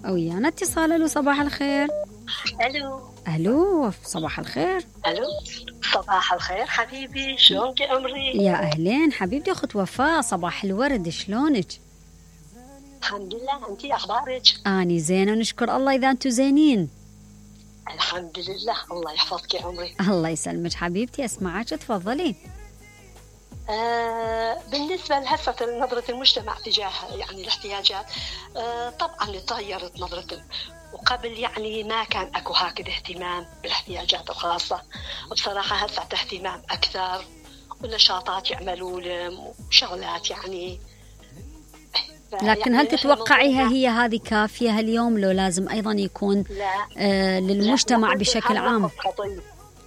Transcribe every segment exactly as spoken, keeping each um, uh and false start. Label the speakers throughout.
Speaker 1: ويانا اتصال. الو صباح الخير.
Speaker 2: الو
Speaker 1: الو صباح الخير.
Speaker 2: الو صباح الخير حبيبي، شلونك يا عمري؟
Speaker 1: يا اهلين حبيبتي اخت وفاء، صباح الورد، شلونك؟
Speaker 2: الحمد لله، انتي اخبارك؟
Speaker 1: اني زينه نشكر الله. اذا انتو زينين
Speaker 2: الحمد لله، الله يحفظك يا عمري.
Speaker 1: الله يسلمك حبيبتي، اسمعك تفضلي.
Speaker 2: آه بالنسبة لهسه نظرة المجتمع تجاه يعني الاحتياجات، آه طبعا تغيرت نظرة، وقبل يعني ما كان اكو هكذا اهتمام بالاحتياجات الخاصة. بصراحة هسه اهتمام اكثر، ونشاطات يعملوا لهم وشغلات يعني.
Speaker 1: لكن هل تتوقعيها هي هذه كافية اليوم، لو لازم أيضا يكون آه للمجتمع
Speaker 2: لا،
Speaker 1: بشكل عام؟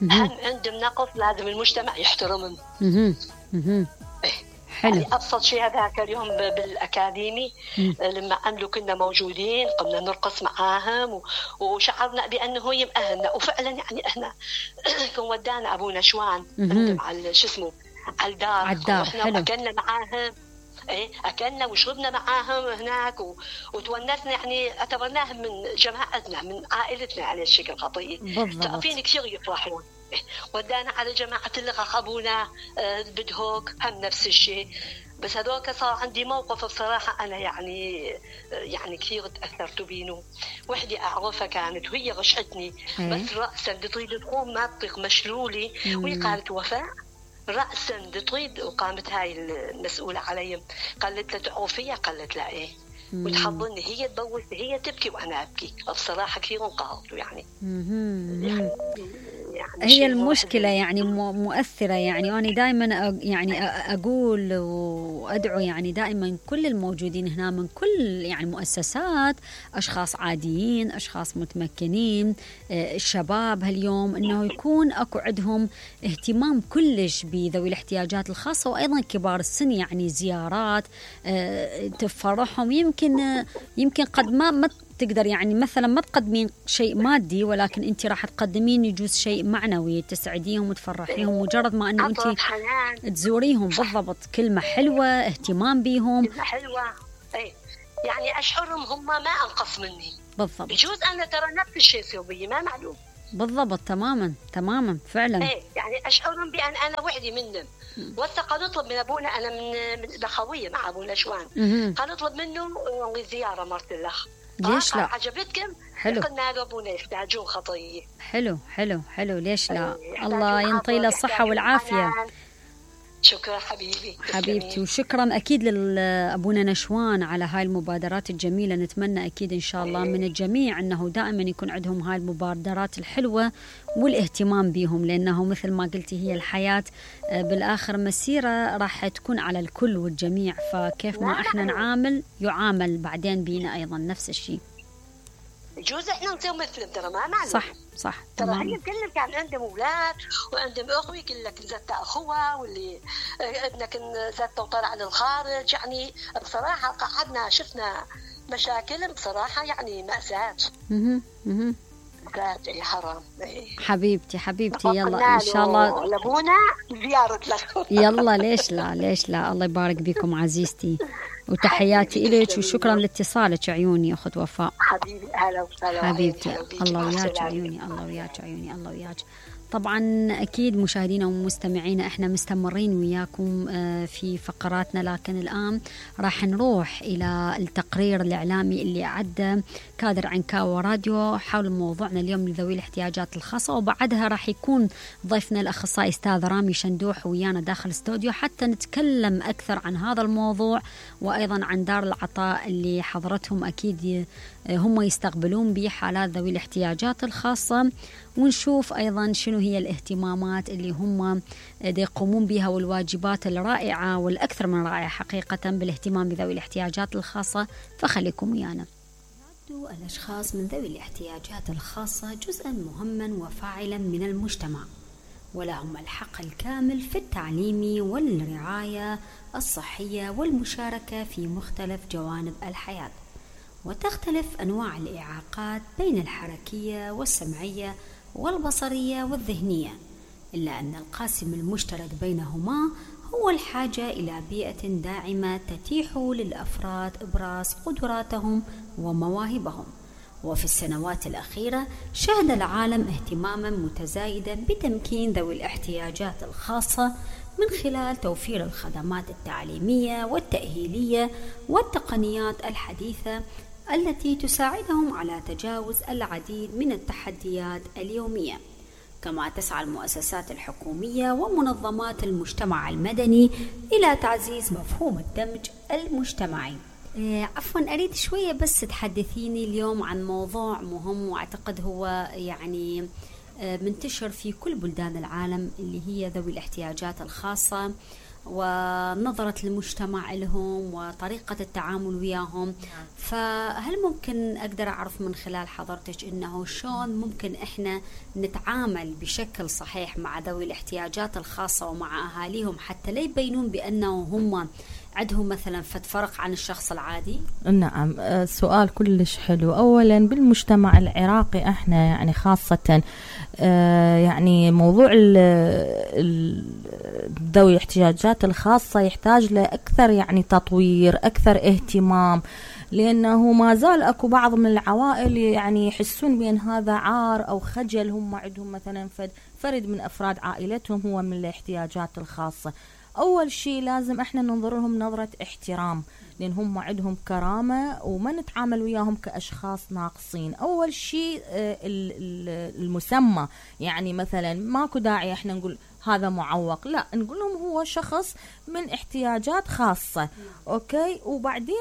Speaker 2: هم عندهم نقص، لازم المجتمع يحترمهم.
Speaker 1: حلو.
Speaker 2: يعني أبسط شيء هذاك اليوم بالأكاديمي لما عملوا كنا موجودين، قمنا نرقص معاهم وشعرنا بأنه يمأهلنا، وفعلا يعني إحنا كن ودانا أبو نشوان على شو اسمه على الدار،
Speaker 1: على الدار. حلو.
Speaker 2: أكلنا معاهم، ايه اكلنا وشربنا معاهم هناك و... وتونسنا، يعني اعتبرناهم من جماعتنا من عائلتنا على الشكل خطير. تعرفين كثير يفرحون. ودانا على جماعة اللغة، خبونا آه بدهوك هم نفس الشيء. بس هذوك صار عندي موقف بصراحة أنا يعني يعني كثير تأثرت بينه. وحدي أعرفها كانت وهي غشتني بس رأسا تريد تقوم ما تطيق مشلولي، وهي قالت وفاء رأسا تريد، وقامت هاي المسؤولة علي قالت لها تعرفيها؟ قالت لا ايه، وتحضني هي تبوس هي تبكي وانا ابكي. بصراحه كثير انقهرت يعني. يعني,
Speaker 1: يعني هي المشكله يعني مؤثره. يعني انا دائما يعني اقول وادعو يعني دائما كل الموجودين هنا من كل يعني مؤسسات، اشخاص عاديين، اشخاص متمكنين، الشباب هاليوم، انه يكون اكو عندهم اهتمام كلش بذوي الاحتياجات الخاصه، وايضا كبار السن، يعني زيارات تفرحهم. يمكن يمكن قد ما ما تقدر يعني مثلا ما تقدمين شيء مادي، ولكن انت راح تقدمين يجوز شيء معنوي تسعديهم وتفرحيهم، مجرد ما انه انت تزوريهم. بالضبط، كلمه حلوه، اهتمام بيهم،
Speaker 2: كلمه حلوه. اي يعني اشعرهم هم ما انقص مني.
Speaker 1: بالضبط.
Speaker 2: يجوز انا ترى نفس الشيء سوي ما معلوم.
Speaker 1: بالضبط، تماما تماما فعلا.
Speaker 2: ايه يعني اشعرهم بان انا وحدي منهم. وثق نطلب من ابونا، انا من من الاخويه مع ابونا شوان، قال نطلب منه زياره مرت الاخ.
Speaker 1: ليش لا؟
Speaker 2: عجبتكم؟
Speaker 1: حلو.
Speaker 2: قلنا له ابونا يحتاجون خطيه.
Speaker 1: حلو حلو حلو، ليش لا؟ الله ينطي له الصحه والعافيه.
Speaker 2: شكرا حبيبي
Speaker 1: حبيبتي، وشكرا أكيد لأبونا نشوان على هاي المبادرات الجميلة. نتمنى أكيد إن شاء الله من الجميع أنه دائما يكون عندهم هاي المبادرات الحلوة والاهتمام بهم، لأنه مثل ما قلتي هي الحياة بالآخر مسيرة راح تكون على الكل والجميع، فكيف ما إحنا نعامل يعامل بعدين بينا أيضا نفس الشيء.
Speaker 2: يجوز احنا نسوي مثلهم ترى ما معلوم.
Speaker 1: صح صح.
Speaker 2: ترى هي كلهم كان عندهم اولاد وعندهم اخوه، يقول لك زت اخوها واللي ابنك زت وطلع للخارج. يعني بصراحه قعدنا شفنا مشاكل بصراحه يعني مأساة.
Speaker 1: اها اها
Speaker 2: يا حرام.
Speaker 1: حبيبتي حبيبتي يلا ان شاء الله
Speaker 2: لابونا زياره لك.
Speaker 1: يلا ليش لا ليش لا. الله يبارك بكم عزيزتي، وتحياتي إليك وشكرا لاتصالك عيوني أخت وفاء.
Speaker 2: حبيبي أهلا وسهلا
Speaker 1: حبيبتي. الله وياك عيوني، الله وياك عيوني، الله وياك. طبعا أكيد مشاهدينا ومستمعينا احنا مستمرين وياكم في فقراتنا، لكن الآن راح نروح إلى التقرير الإعلامي اللي أعده كادر عنكاوى راديو حول موضوعنا اليوم لذوي الاحتياجات الخاصة، وبعدها راح يكون ضيفنا الأخصائي أستاذ رامي شندوح ويانا داخل الاستوديو حتى نتكلم أكثر عن هذا الموضوع، وأيضا عن دار العطاء اللي حضرتهم أكيد هم يستقبلون به حالات ذوي الاحتياجات الخاصة، ونشوف أيضا شنو هي الاهتمامات اللي هم يقومون بها والواجبات الرائعة والأكثر من رائعة حقيقة بالاهتمام بذوي الاحتياجات الخاصة. فخليكم ويانا. الأشخاص من ذوي الاحتياجات الخاصة جزءا مهما وفاعلا من المجتمع، ولهم الحق الكامل في التعليم والرعاية الصحية والمشاركة في مختلف جوانب الحياة. وتختلف أنواع الإعاقات بين الحركية والسمعية والبصرية والذهنية، إلا أن القاسم المشترك بينهما هو الحاجة إلى بيئة داعمة تتيح للأفراد إبراز قدراتهم ومواهبهم. وفي السنوات الأخيرة شهد العالم اهتماما متزايدا بتمكين ذوي الاحتياجات الخاصة من خلال توفير الخدمات التعليمية والتأهيلية والتقنيات الحديثة التي تساعدهم على تجاوز العديد من التحديات اليومية. كما تسعى المؤسسات الحكومية ومنظمات المجتمع المدني إلى تعزيز مفهوم الدمج المجتمعي. عفوا أريد شوية بس تحدثيني اليوم عن موضوع مهم وأعتقد هو يعني منتشر في كل بلدان العالم، اللي هي ذوي الاحتياجات الخاصة ونظرة المجتمع لهم وطريقة التعامل وياهم. فهل ممكن أقدر أعرف من خلال حضرتك إنه شلون ممكن إحنا نتعامل بشكل صحيح مع ذوي الاحتياجات الخاصة ومع أهاليهم حتى لا يبينون بأنه هم عندهم مثلا فرق عن الشخص العادي؟
Speaker 3: نعم، سؤال كلش حلو. أولا بالمجتمع العراقي احنا يعني خاصة يعني موضوع ذوي الاحتياجات الخاصة يحتاج لأكثر يعني تطوير، أكثر اهتمام، لأنه ما زال أكو بعض من العوائل يعني يحسون بأن هذا عار أو خجل، هم عندهم مثلا فرد من أفراد عائلتهم هو من الاحتياجات الخاصة. أول شيء لازم إحنا ننظر لهم نظرة احترام، لأن هم عندهم كرامة وما نتعامل وياهم كأشخاص ناقصين. أول شيء المسمى، يعني مثلا ماكو داعي إحنا نقول هذا معوق، لا، نقول لهم هو شخص من احتياجات خاصة. أوكي، وبعدين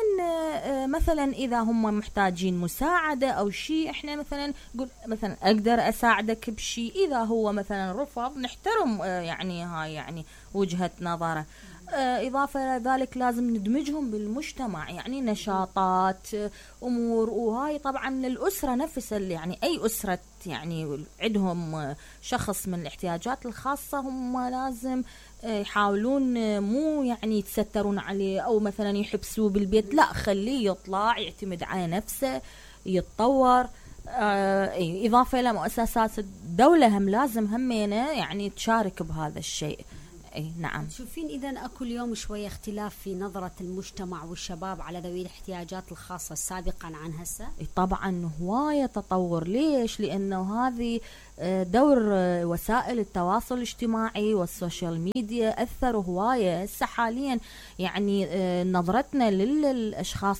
Speaker 3: مثلا إذا هم محتاجين مساعدة أو شيء، إحنا مثلا نقول مثلا أقدر أساعدك بشيء. إذا هو مثلا رفض نحترم يعني هاي يعني وجهة نظره. إضافة إلى ذلك لازم ندمجهم بالمجتمع، يعني نشاطات، أمور، وهاي طبعا للأسرة نفسها، يعني أي أسرة يعني عندهم شخص من الاحتياجات الخاصة هم لازم يحاولون مو يعني يتسترون عليه أو مثلا يحبسوه بالبيت، لا، خليه يطلع يعتمد على نفسه يتطور. آه إضافة إلى مؤسسات الدولة هم لازم همينة يعني تشارك بهذا الشيء. اي نعم.
Speaker 1: تشوفين اذا اكو اليوم شويه اختلاف في نظره المجتمع والشباب على ذوي الاحتياجات الخاصه سابقا عن هسه؟
Speaker 3: طبعا هوايه تطور. ليش؟ لانه هذه دور وسائل التواصل الاجتماعي والسوشيال ميديا اثروا هوايه. هسه حاليا يعني نظرتنا للاشخاص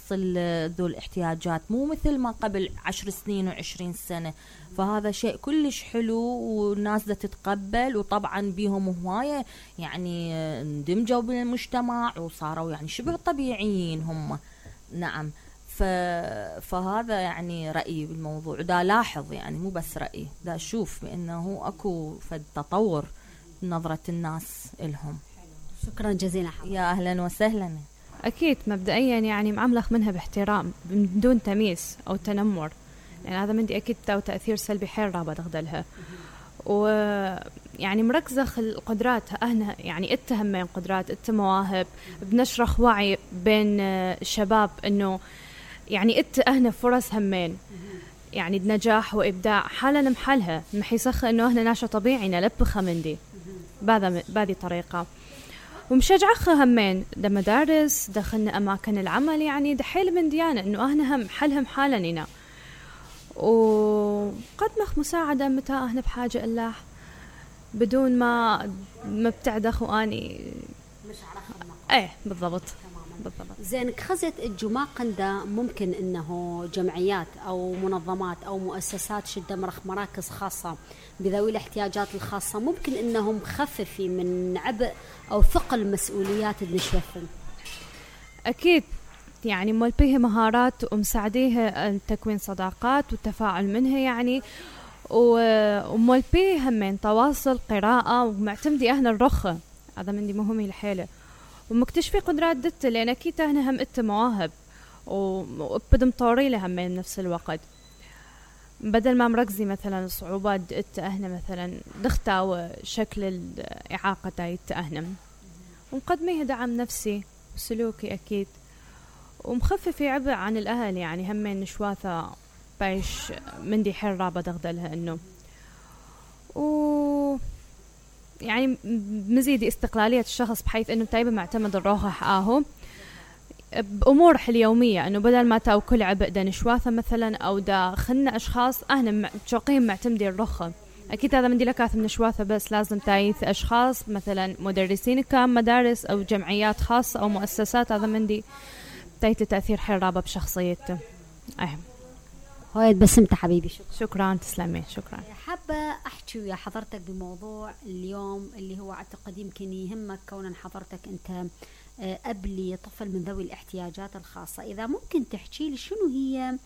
Speaker 3: ذو الاحتياجات مو مثل ما قبل عشر سنين وعشرين سنه، فهذا شيء كلش حلو والناس دا تتقبل، وطبعا بيهم هواية يعني اندمجوا بالمجتمع وصاروا يعني شبه طبيعيين هم. نعم، ف... فهذا يعني رأيي بالموضوع. دا لاحظ يعني مو بس رأيي، دا أشوف بأنه أكو فد تطور نظرة الناس إلهم.
Speaker 1: شكرا جزيلا حضرتك.
Speaker 3: يا أهلا وسهلا.
Speaker 4: أكيد مبدئيا يعني معاملخ منها باحترام بدون تمييز أو تنمر، يعني هذا مندي أكيد تاو تأثير سلبي حيل رابط تغدلها. ويعني مركزة القدرات أهنا يعني اتهمين قدرات ات مواهب، بنشرخ وعي بين الشباب إنه يعني ات أهنا فرص همين يعني نجاح وإبداع حالا محلها محيسخ إنه أهنا ناشا طبيعي نلبخها مندي بهذا بهذه طريقة. ومشجعخ همين دا مدارس دخلنا أماكن العمل، يعني دحيل من ديانة إنه أهنا هم حلهم حالا لنا، وقدمخ مساعدة متى أهنا بحاجة إله بدون ما ما بتعدخ وأني
Speaker 1: مش عرفنا.
Speaker 4: إيه بالضبط بالضبط.
Speaker 1: زين خزت الجماقن ده ممكن إنه جمعيات أو منظمات أو مؤسسات شدة مرخ مراكز خاصة بذوي الاحتياجات الخاصة ممكن إنهم خففي من عبء أو ثقل مسؤوليات النشوفن؟
Speaker 4: أكيد، يعني مول بيه مهارات ومساعديه تكوين صداقات والتفاعل منها يعني، ومول بيه همين تواصل قراءة ومعتمدي أهنا الرخة، هذا من دي مهمي الحيلة، ومكتشفي قدرات دت لأن أكيد أهنا هم إت مواهب وبدم طوري لها من نفس الوقت، بدل ما مركزي مثلا صعوبات إت أهنا مثلا دختاو شكل الإعاقة دايت أهنا، ومقدميه دعم نفسي وسلوكي أكيد، ومخففي عبء عن الأهل يعني همين نشواثة بايش من دي حيل رابط أغدلها إنه و يعني مزيد استقلالية الشخص بحيث إنه تايبه معتمد الروح آهو بأمور اليومية، إنه بدل ما تاو كل عبء دا نشواثة مثلا أو دا خلنا أشخاص أهنا شوقين معتمدين الرخة. أكيد هذا مندي لكاث من نشواثة، بس لازم تايث أشخاص مثلا مدرسين كام مدارس أو جمعيات خاصة أو مؤسسات، هذا مندي تايث لتأثير حرابة بشخصيته. أهم
Speaker 1: هاي بسمت حبيبي. شكرا.
Speaker 4: شكرا تسلمي. شكرا.
Speaker 1: حابة أحكي ويا حضرتك بموضوع اليوم اللي هو أعتقد يمكن يهمك كونا حضرتك أنت أبلي طفل من ذوي الاحتياجات الخاصة. إذا ممكن تحكي لي شنو هي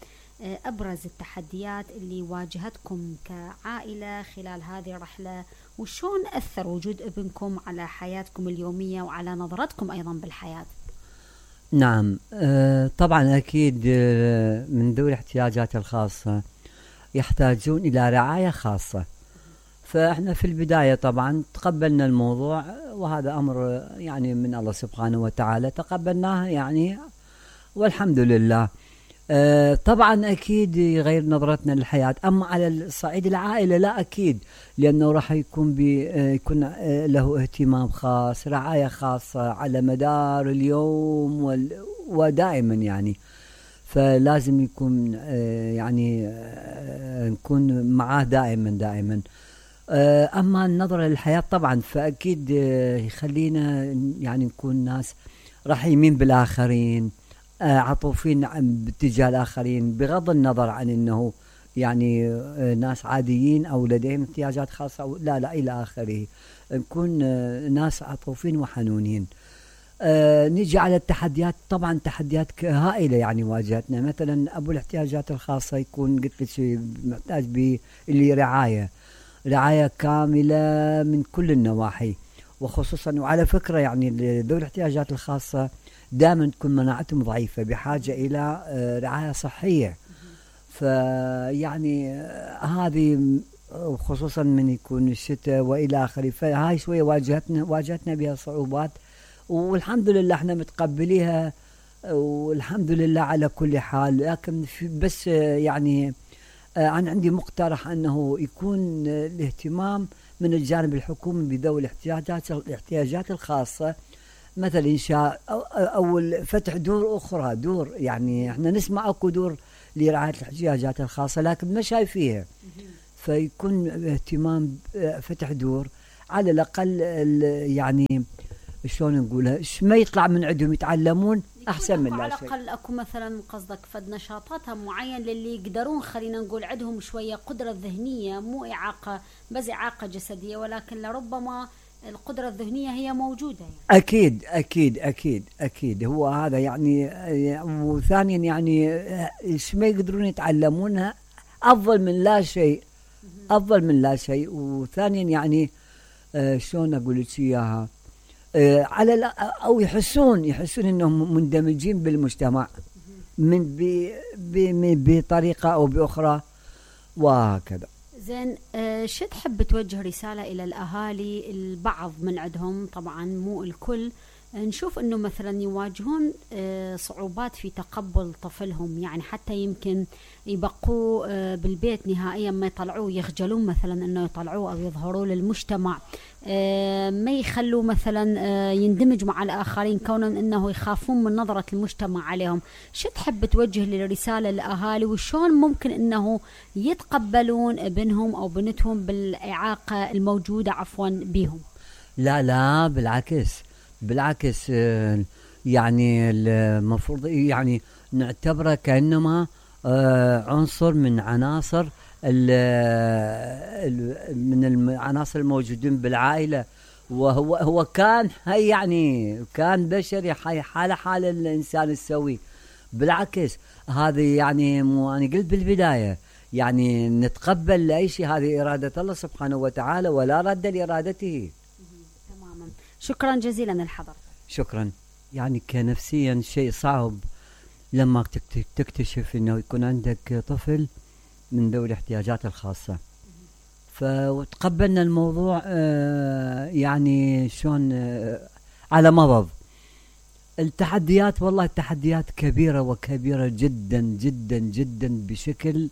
Speaker 1: أبرز التحديات اللي واجهتكم كعائلة خلال هذه الرحلة، وشون أثر وجود ابنكم على حياتكم اليومية وعلى نظرتكم أيضا بالحياة؟
Speaker 5: نعم طبعا أكيد من ذوي الاحتياجات الخاصة يحتاجون إلى رعاية خاصة، فإحنا في البداية طبعا تقبلنا الموضوع، وهذا أمر يعني من الله سبحانه وتعالى تقبلناه يعني والحمد لله. أه طبعا أكيد يغير نظرتنا للحياة. أما على الصعيد العائلة لا أكيد، لأنه راح يكون بيكون له اهتمام خاص، رعاية خاصة على مدار اليوم ودائما يعني، فلازم يكون أه يعني أه نكون معاه دائما دائما. أه أما النظرة للحياة طبعا فأكيد يخلينا يعني نكون ناس رحيمين بالآخرين، عطوفين باتجاه الآخرين، بغض النظر عن أنه يعني ناس عاديين أو لديهم احتياجات خاصة أو لا لا إلى آخره، نكون ناس عطوفين وحنونين. أه نيجي على التحديات، طبعا تحديات هائلة يعني واجهتنا. مثلا أبو الاحتياجات الخاصة يكون قلت لك شيء محتاج باللي رعاية رعاية كاملة من كل النواحي، وخصوصا وعلى فكرة يعني ذوي الاحتياجات الخاصة دائما تكون مناعتهم ضعيفة، بحاجة إلى رعاية صحية. فيعني هذه خصوصا من يكون الشتاء وإلى آخره، فهاي شوية واجهتنا واجهتنا بها صعوبات، والحمد لله احنا متقبليها والحمد لله على كل حال. لكن بس يعني أنا عندي مقترح أنه يكون الاهتمام من الجانب الحكومي بذوي الاحتياجات الاحتياجات الخاصة، مثل إنشاء أو, أو فتح دور أخرى، دور يعني احنا نسمع أكو دور لرعاية الاحتياجات الخاصة لكن ما شايفيها، فيكون اهتمام فتح دور على الأقل يعني شلون نقولها، ما يطلع من عندهم يتعلمون أحسن من لا شيء.
Speaker 1: على الأقل أكو مثلا قصدك فد نشاطاتها معين للي يقدرون خلينا نقول عندهم شوية قدرة ذهنية، مو إعاقة بس إعاقة جسدية، ولكن لربما القدرة الذهنية هي موجودة يعني.
Speaker 5: أكيد أكيد أكيد أكيد هو هذا يعني. وثانيا يعني إيش ما يقدرون يتعلمونها أفضل من لا شيء، أفضل من لا شيء. وثانيا يعني آه شلون أقول لك إياها، آه على أو يحسون يحسون إنهم مندمجين بالمجتمع من بطريقة أو بأخرى وهكذا.
Speaker 1: زين آه شو تحب توجه رسالة إلى الأهالي؟ البعض من عندهم طبعا مو الكل، نشوف أنه مثلا يواجهون آه صعوبات في تقبل طفلهم، يعني حتى يمكن يبقوا آه بالبيت نهائيا ما يطلعوه، يخجلون مثلا أنه يطلعوه أو يظهروا للمجتمع، آه ما يخلوا مثلا آه يندمج مع الآخرين كونا أنه يخافون من نظرة المجتمع عليهم. شو تحب توجه للرسالة للأهالي، وشون ممكن أنه يتقبلون ابنهم أو بنتهم بالإعاقة الموجودة عفوا بهم؟
Speaker 5: لا لا بالعكس بالعكس يعني المفروض يعني نعتبره كأنما عنصر من عناصر من العناصر الموجودين بالعائلة، وهو هو كان هي يعني كان بشري حاله حال الإنسان السوي. بالعكس هذه يعني مو أنا قلت بالبداية يعني نتقبل لأي شيء، هذه إرادة الله سبحانه وتعالى ولا رد لإرادته.
Speaker 1: تماما. شكرا جزيلا الحضر.
Speaker 5: شكرا. يعني كنفسيا شيء صعب لما تكتشف انه يكون عندك طفل من ذوي الاحتياجات الخاصة، فتقبلنا الموضوع آه يعني شلون آه على مضض. التحديات والله التحديات كبيرة وكبيرة جدا جدا جدا بشكل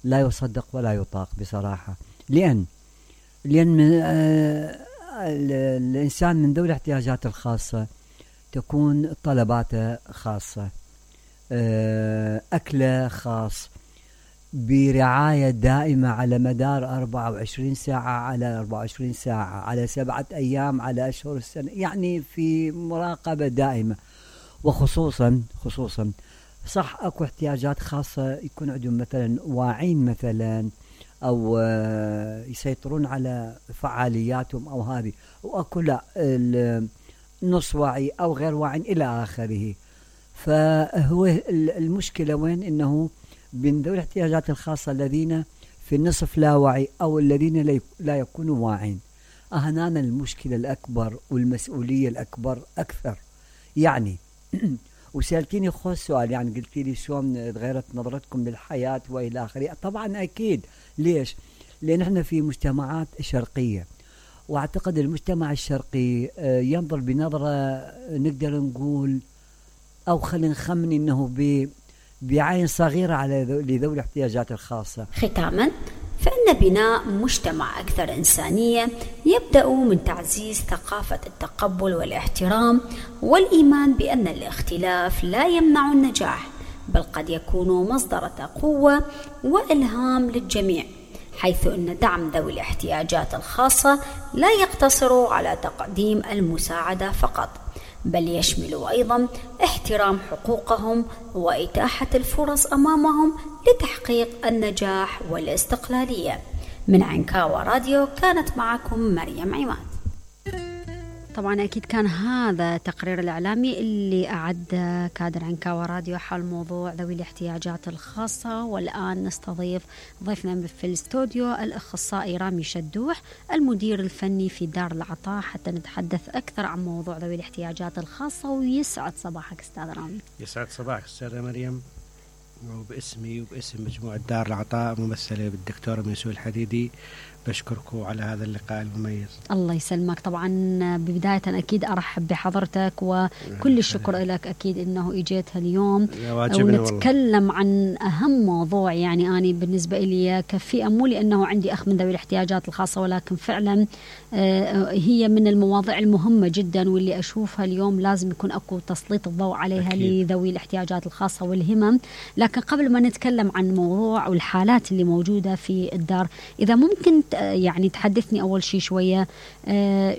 Speaker 5: لا يصدق ولا يطاق بصراحة. لأن لأن آه الإنسان من ذوي الاحتياجات الخاصة تكون طلباته خاصة، أكله خاص، برعاية دائمة على مدار أربعة وعشرين ساعة على أربعة وعشرين ساعة على سبعة أيام على أشهر السنة، يعني في مراقبة دائمة. وخصوصا خصوصا صح أكو احتياجات خاصة يكون عندهم مثلا واعين مثلا أو يسيطرون على فعالياتهم أو هذه، وأكو لا نص واعي أو غير واعي إلى آخره. فهو المشكلة وين؟ إنه من ذوي الاحتياجات الخاصة الذين في النصف لا واعي أو الذين لا يكونوا واعين، هنا المشكلة الأكبر والمسؤولية الأكبر أكثر. يعني وسألتيني خوش سؤال، يعني قلت لي شلون تغيرت نظرتكم للحياة وإلى آخره. طبعا أكيد. ليش؟ لأن احنا في مجتمعات شرقية، واعتقد المجتمع الشرقي ينظر بنظرة نقدر نقول أو خلينا نخمن إنه بعين صغيرة على لذوي الاحتياجات الخاصة.
Speaker 1: ختاما، فإن بناء مجتمع أكثر إنسانية يبدأ من تعزيز ثقافة التقبل والاحترام والإيمان بأن الاختلاف لا يمنع النجاح، بل قد يكون مصدر قوة وإلهام للجميع، حيث أن دعم ذوي الاحتياجات الخاصة لا يقتصر على تقديم المساعدة فقط، بل يشمل أيضا احترام حقوقهم وإتاحة الفرص أمامهم لتحقيق النجاح والاستقلالية. من عنكاوى راديو كانت معكم مريم عماد. طبعا أكيد كان هذا تقرير الإعلامي اللي أعد كادر عنكاوى راديو حول موضوع ذوي الاحتياجات الخاصة. والآن نستضيف ضيفنا في الاستوديو الأخصائي رامي شدوح، المدير الفني في دار العطاء، حتى نتحدث أكثر عن موضوع ذوي الاحتياجات الخاصة. ويسعد صباحك أستاذ رامي.
Speaker 6: يسعد صباحك أستاذة مريم، وباسمي وباسم مجموعة دار العطاء ممثلة بالدكتورة ميسوء الحديدي بشكركم على هذا اللقاء المميز. الله
Speaker 1: يسلمك. طبعا ببداية أكيد أرحب بحضرتك وكل الشكر لك أكيد أنه إجيت اليوم ونتكلم والله. عن أهم موضوع، يعني أنا بالنسبة لي كفئة، مو لأنه عندي أخ من ذوي الاحتياجات الخاصة، ولكن فعلا هي من المواضيع المهمة جدا واللي أشوفها اليوم لازم يكون أكو تسليط الضوء عليها أكيد. لذوي الاحتياجات الخاصة والهمم. لكن قبل ما نتكلم عن الموضوع والحالات اللي موجودة في الدار، إذا ممكن يعني تحدثني أول شيء شوية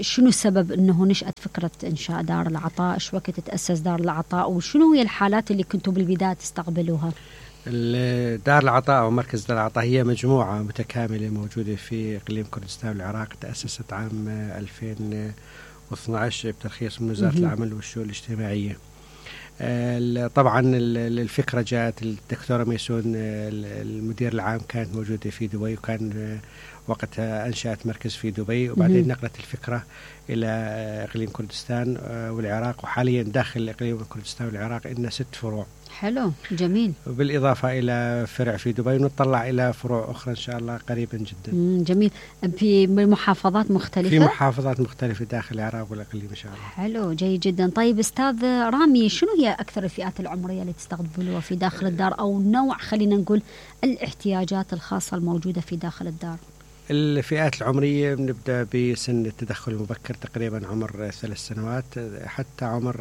Speaker 1: شنو السبب أنه نشأت فكرة إنشاء دار العطاء، شو وقت تأسس دار العطاء، وشنو هي الحالات اللي كنتوا بالبداية تستقبلوها؟
Speaker 6: دار العطاء ومركز دار العطاء هي مجموعة متكاملة موجودة في إقليم كردستان والعراق، تأسست عام ألفين واثني عشر بترخيص من وزارة العمل والشؤون الاجتماعية. طبعا الفكرة جاءت الدكتورة ميسون المدير العام كانت موجودة في دبي، وكان وقتها أنشأت مركز في دبي، وبعدين نقلت الفكرة إلى إقليم كردستان والعراق، وحاليا داخل إقليم كردستان والعراق إن ست فروع.
Speaker 1: حلو، جميل.
Speaker 6: وبالإضافة إلى فرع في دبي، ونطلع إلى فروع أخرى إن شاء الله قريبا جدا.
Speaker 1: جميل. في محافظات مختلفة؟
Speaker 6: في محافظات مختلفة داخل العراق والإقليم إن شاء الله.
Speaker 1: حلو، جيد جدا. طيب أستاذ رامي، شنو هي أكثر الفئات العمرية اللي تستقبلوها في داخل الدار، أو نوع خلينا نقول الاحتياجات الخاصة الموجودة في داخل الدار؟
Speaker 6: الفئات العمرية بنبدأ بسن التدخل المبكر، تقريبا عمر ثلاث سنوات حتى عمر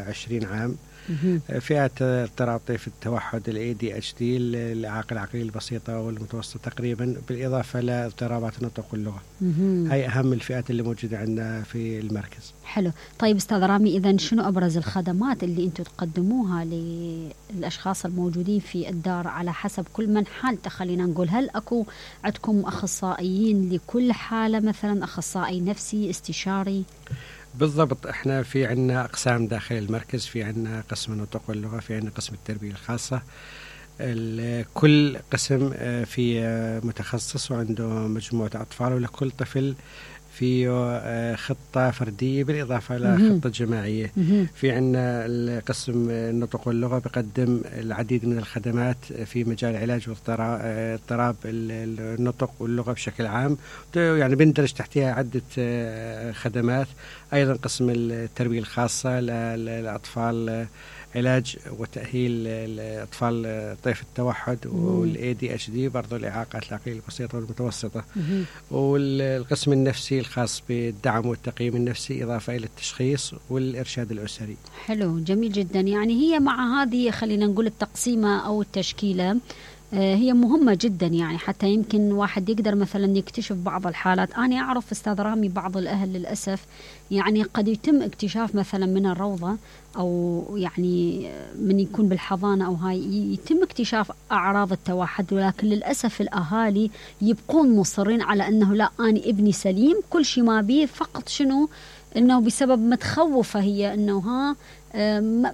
Speaker 6: عشرين عام. فئات اضطراب طيف التوحد ال إيه دي إتش دي، الإعاقة العقلية البسيطة والمتوسطة تقريبا، بالإضافة لاضطرابات النطق واللغة. هاي أهم الفئات اللي موجودة عندنا في المركز.
Speaker 1: حلو. طيب أستاذ رامي، إذن شنو أبرز الخدمات اللي أنتم تقدموها للأشخاص الموجودين في الدار على حسب كل من حالته؟ خلينا نقول، هل أكو عندكم أخصائيين لكل حالة، مثلا أخصائي نفسي، استشاري؟
Speaker 6: بالضبط، احنا في عنا اقسام داخل المركز، في عنا قسم النطق واللغه، في عنا قسم التربيه الخاصه. كل قسم في متخصص وعنده مجموعه اطفال، ولكل طفل فيه خطة فردية بالإضافة إلى خطة جماعية. في عنا القسم النطق واللغة بقدم العديد من الخدمات في مجال علاج واضطراب النطق واللغة بشكل عام، يعني بندرج تحتها عدة خدمات. أيضا قسم التربية الخاصة للأطفال علاج وتأهيل الأطفال طيف التوحد والاي دي اتش دي، برضو الإعاقات العقلية البسيطة والمتوسطة، والقسم النفسي الخاص بالدعم والتقييم النفسي إضافة إلى التشخيص والإرشاد الأسري.
Speaker 1: حلو، جميل جدا. يعني هي مع هذه خلينا نقول التقسيمة أو التشكيلة هي مهمة جدا، يعني حتى يمكن واحد يقدر مثلا يكتشف بعض الحالات. أنا أعرف أستاذ رامي بعض الأهل للأسف يعني قد يتم اكتشاف مثلا من الروضة أو يعني من يكون بالحضانة أو هاي يتم اكتشاف أعراض التوحد، ولكن للأسف الأهالي يبقون مصرين على أنه لا أنا ابني سليم كل شيء ما بيه، فقط شنو أنه بسبب متخوفة هي أنه ها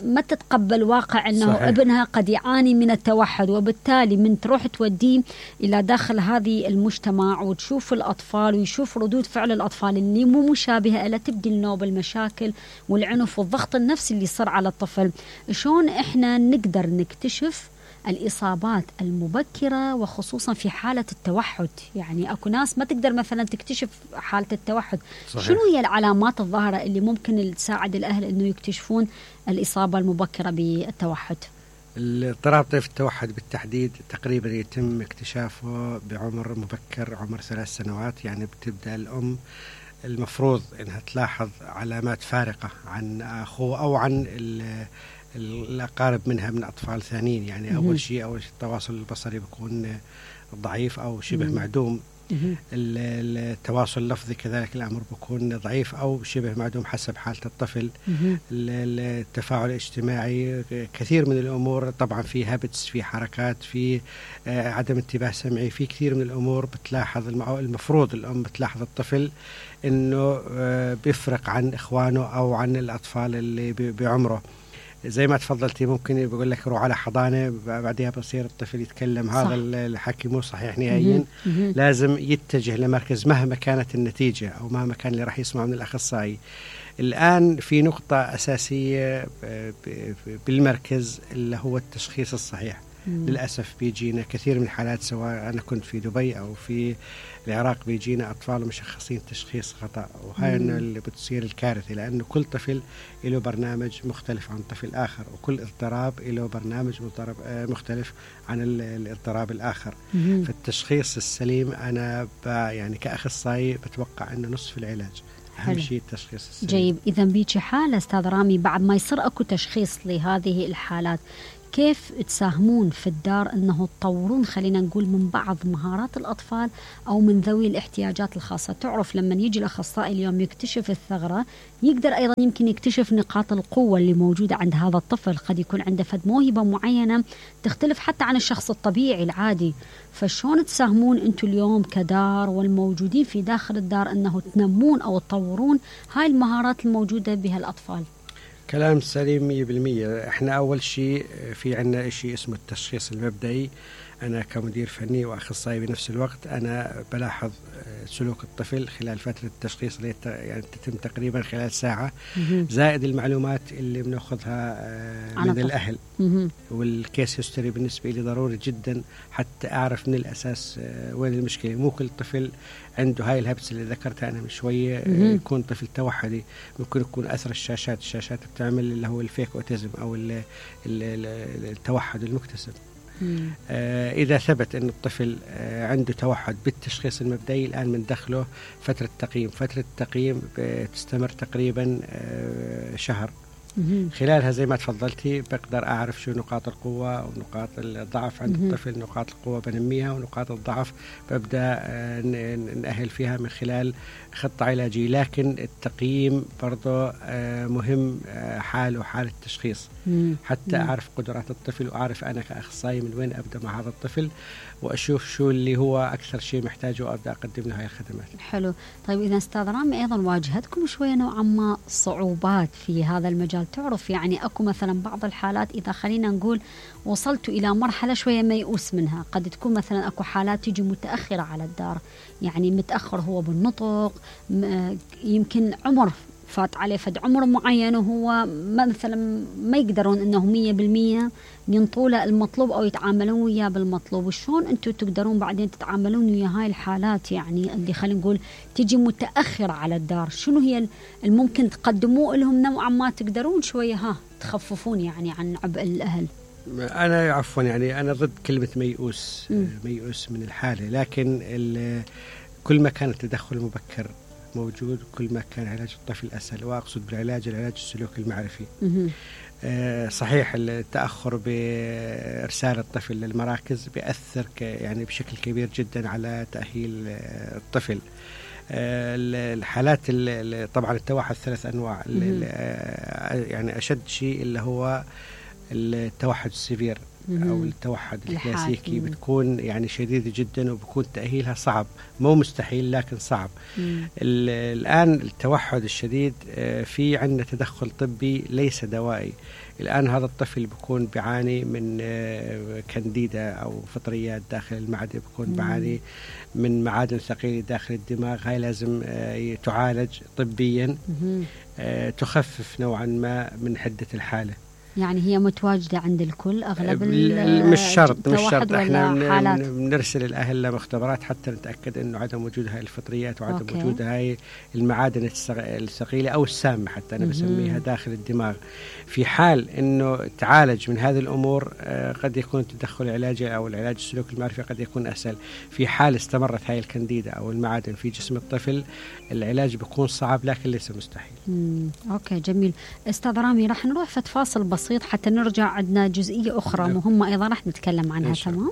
Speaker 1: ما تتقبل واقع أنه صحيح. ابنها قد يعاني من التوحد، وبالتالي من تروح توديه إلى داخل هذه المجتمع وتشوف الأطفال ويشوف ردود فعل الأطفال اللي مو مشابهة إلى تبدي النوب المشاكل والعنف والضغط النفسي اللي يصير على الطفل. شلون إحنا نقدر نكتشف الإصابات المبكرة وخصوصا في حالة التوحد؟ يعني أكو ناس ما تقدر مثلا تكتشف حالة التوحد. صحيح. شنو هي العلامات الظاهرة اللي ممكن تساعد الأهل أنه يكتشفون الإصابة المبكرة بالتوحد؟
Speaker 6: اضطراب طيف التوحد بالتحديد تقريبا يتم اكتشافه بعمر مبكر، عمر ثلاث سنوات. يعني بتبدأ الأم المفروض أنها تلاحظ علامات فارقة عن أخوه أو عن الأقارب منها من أطفال ثانيين. يعني أول شيء أول شيء التواصل البصري بيكون ضعيف أو شبه معدوم. التواصل اللفظي كذلك الأمر بيكون ضعيف أو شبه معدوم حسب حالة الطفل. التفاعل الاجتماعي كثير من الأمور، طبعا في هابتس، في حركات، في عدم انتباه سمعي، في كثير من الأمور بتلاحظ. المفروض الأم بتلاحظ الطفل إنه بيفرق عن إخوانه أو عن الأطفال اللي بعمره. زي ما تفضلتي ممكن بقول لك روح على حضانة بعدها بصير الطفل يتكلم. صح. هذا الحكي مو صحيح نهائيا. لازم يتجه لمركز مهما كانت النتيجة أو مهما كان اللي راح يسمع من الأخصائي. الآن في نقطة أساسية بالمركز اللي هو التشخيص الصحيح. مم. للأسف بيجينا كثير من الحالات، سواء أنا كنت في دبي أو في العراق، بيجينا أطفال مشخصين تشخيص خطأ، وهاي إنه اللي بتصير الكارثة، لأنه كل طفل له برنامج مختلف عن طفل آخر، وكل اضطراب له برنامج مختلف عن الاضطراب الآخر. مم. فالتشخيص السليم أنا يعني كأخصائي بتوقع إنه نصف العلاج. أهم شيء التشخيص السليم.
Speaker 1: جيد. إذا بيجي حالة أستاذ رامي بعد ما يصير أكو تشخيص لهذه الحالات، كيف تساهمون في الدار أنه تطورون خلينا نقول من بعض مهارات الأطفال أو من ذوي الاحتياجات الخاصة؟ تعرف لما يجي الأخصائي اليوم يكتشف الثغرة، يقدر أيضا يمكن يكتشف نقاط القوة اللي موجودة عند هذا الطفل. قد يكون عنده فد موهبة معينة تختلف حتى عن الشخص الطبيعي العادي. فشون تساهمون أنتم اليوم كدار والموجودين في داخل الدار أنه تنمون أو تطورون هاي المهارات الموجودة بها الأطفال؟
Speaker 6: كلام سليم مية بالمية. احنا اول شيء في عنا شيء اسمه التشخيص المبدئي. انا كمدير فني واخصائي بنفس الوقت انا بلاحظ سلوك الطفل خلال فترة التشخيص اللي يعني تتم تقريبا خلال ساعة، زائد المعلومات اللي بناخذها من الأهل. والكيس هيستوري بالنسبة لي ضروري جدا حتى أعرف من الأساس وين المشكلة. مو كل طفل عنده هاي الهبس اللي ذكرتها أنا من شوية يكون طفل توحدي. ممكن يكون أثر الشاشات الشاشات بتعمل اللي هو الفيك أوتيزم أو ال ال التوحد المكتسب. آه إذا ثبت أن الطفل آه عنده توحد بالتشخيص المبدئي، الآن بندخله فترة تقييم. فترة التقييم بتستمر تقريبا آه شهر. خلالها زي ما تفضلتي بقدر أعرف شو نقاط القوة ونقاط الضعف عند الطفل. نقاط القوة بنميها ونقاط الضعف ببدأ آه نأهل فيها من خلال خطة علاجية. لكن التقييم برضو آه مهم آه حال وحال التشخيص حتى أعرف قدرات الطفل، وأعرف أنا كأخصائي من وين أبدأ مع هذا الطفل، وأشوف شو اللي هو أكثر شيء محتاجه وأبدأ أقدم له هاي الخدمات.
Speaker 1: حلو. طيب إذا أستاذ رامي أيضا واجهتكم شوية نوعا ما صعوبات في هذا المجال؟ تعرف يعني أكو مثلا بعض الحالات إذا خلينا نقول وصلتوا إلى مرحلة شوية ميؤوس منها، قد تكون مثلا أكو حالات تيجي متأخرة على الدار، يعني متأخر هو بالنطق، يمكن عمر فات عليه فد عمر معين وهو مثلا ما يقدرون انه مية بالمية ينطوا له المطلوب او يتعاملون وياه بالمطلوب، وشون انتم تقدرون بعدين تتعاملون ويا هاي الحالات يعني اللي خلينا نقول تجي متاخره على الدار؟ شنو هي الممكن تقدموه لهم نوعا ما تقدرون شويه ها تخففون يعني عن عبء الاهل؟
Speaker 6: انا عفوا يعني انا ضد كلمه ميؤوس م. ميؤوس من الحاله، لكن كل ما كان التدخل المبكر موجود كل ما كان علاج الطفل اسهل، واقصد بالعلاج العلاج السلوكي المعرفي. آه صحيح التاخر بارسال الطفل للمراكز بياثر يعني بشكل كبير جدا على تاهيل الطفل. آه الحالات طبعا التوحد ثلاث انواع، يعني اشد شيء اللي هو التوحد السيفير أو التوحد الكلاسيكي بتكون يعني شديدة جدا وبكون تأهيلها صعب، مو مستحيل لكن صعب. الآن التوحد الشديد في عندنا تدخل طبي ليس دوائي. الآن هذا الطفل بيكون بيعاني من كانديدا أو فطريات داخل المعدة، بيكون بيعاني من معادن ثقيلة داخل الدماغ، هاي لازم تعالج طبيا تخفف نوعا ما من حدة الحالة.
Speaker 1: يعني هي متواجدة عند الكل أغلب
Speaker 6: مش شرط مش شرط احنا بنرسل الأهل لمختبرات حتى نتأكد أنه عدم وجود هاي الفطريات وعدم أوكي. وجود هاي المعادن الثقيلة أو السامة حتى أنا بسميها داخل الدماغ. في حال أنه تعالج من هذه الأمور قد يكون التدخل العلاجي أو العلاج السلوكي المعرفي قد يكون أسهل. في حال استمرت هاي الكانديدا أو المعادن في جسم الطفل العلاج بيكون صعب لكن ليس مستحيل.
Speaker 1: مم. أوكي جميل. أستاذ رامي راح نروح في فاصل بسيط حتى نرجع، عندنا جزئية أخرى مهمة أيضا راح نتكلم عنها. تمام.